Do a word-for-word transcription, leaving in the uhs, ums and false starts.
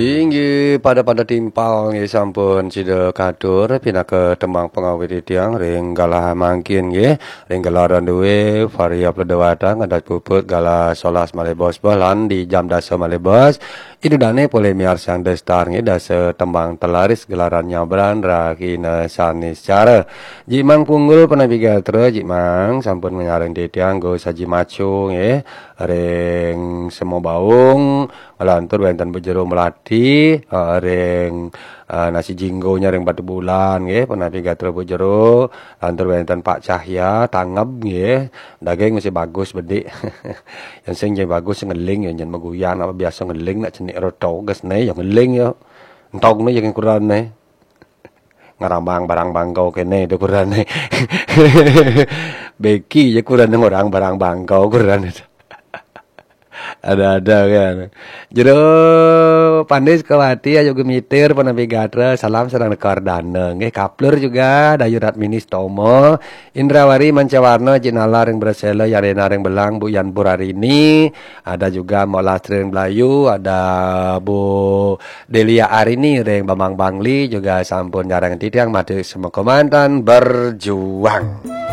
Inggih, pada-pada timpal nggih, sampun sida katur pinaka tembang pangawit titiang ring galah mangkin nggih, ring gelaran due Varia Pleda Watang, adat puput galah solas malih bos, lan di jam dasa malih bos, ida dane polih miarsang destar nggih, dasa tembang telaris gelaran nyabran rahina Saniscara. Jimang Punggul punapi gatra, Jimang sampun ngenyarin titiang go saji macu nggih, ring Sema Baung, nglantur wenten Bu Jero Melati, eh, ring, eh, nasi jinggonya ring Batubulan nggih, punapi gatra Bu Jero, lantur wenten Pak Cahya, tanggap nggih, daging masih bagus bedik. Yang sing jadi bagus ngeling ya, jangan maguyan apa biasa ngeling nak cenik roto gas ne, ya ngeling ya. Entog ne yang kurang ne. Ngarambang barang bangkau kene itu kurang ne. Beki ya kurang orang barang bangkau kurang itu. Ada-ada kan. Jero Pandis Kawati ayu gemitir punapi gatra, salam sareng nekar dana. Nggih, kaplur juga Dayu Ratmini Stomo, Indrawari Mancawarna, Jinala ring Brasela, Yarena ring Belang, Bu Yan Purarini, ada juga Mbok Lastri ring Belayu, ada Bu Delia Arini ring Bambang Bangli, juga sampun nyarang titiang mati semekomantan berjuang.